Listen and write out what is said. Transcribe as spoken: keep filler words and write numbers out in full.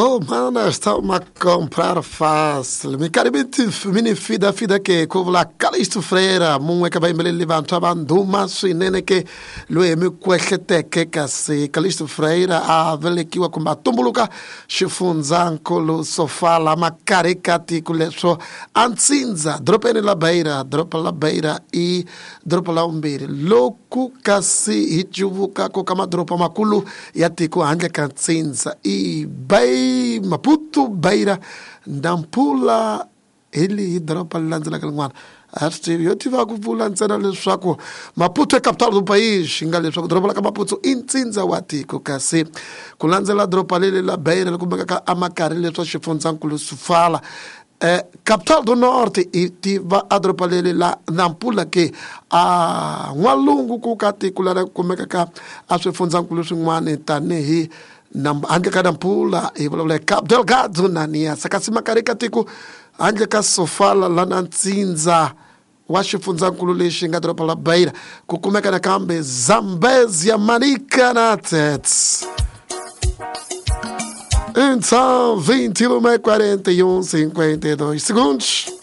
Oh, mana, está uma comprar fácil. Mikaribiti mini fida fida ke kuvula Calixto Freire, mun'we ka vayimbeleri vantshwa va ndhuma swinene ke loyi mi kwehleteke kasi Calixto Freire a velekiwa kumbe a tumbuluka xifundzankulu Sofala makarhi ka tiko leswo a ntsindza dorobeni la Beira. Doroba la Beira i doroba la vumbirhi loku kasi hi cuvukaka ka madoroba makulu ya tiko handle ka ntsindza i Bay Maputo, Beira, Nampula hi lihi doroba leri landzelaka rin'wana a swi tivi yo tiva ku vula ntsena leswaku Maputo i capital do país nga leswaku doroba la ka Maputo i ntsindza wa tiko kasi ku landzela doroba leli la Beira leri kumekaka amakarhi leswa xifundzankulu Sofala Eh, capital do norte i tiva a doroba leri la Nampula ke a n'walungu ku ka tiko leri kumekaka a swifundzankulu swin'wana tanihi handle ka Nampula hi vulavula hi Cabo Delgado na Niassa kasi makarhi ka tiko handle ka Sofala lana ntsindza wa xifundzankulu lexi nga doroba la Beira ku kumeka nakambe Zambezia, Manica na Tete. Então, vinte e uma e quarenta e um, cinquenta e dois segundos.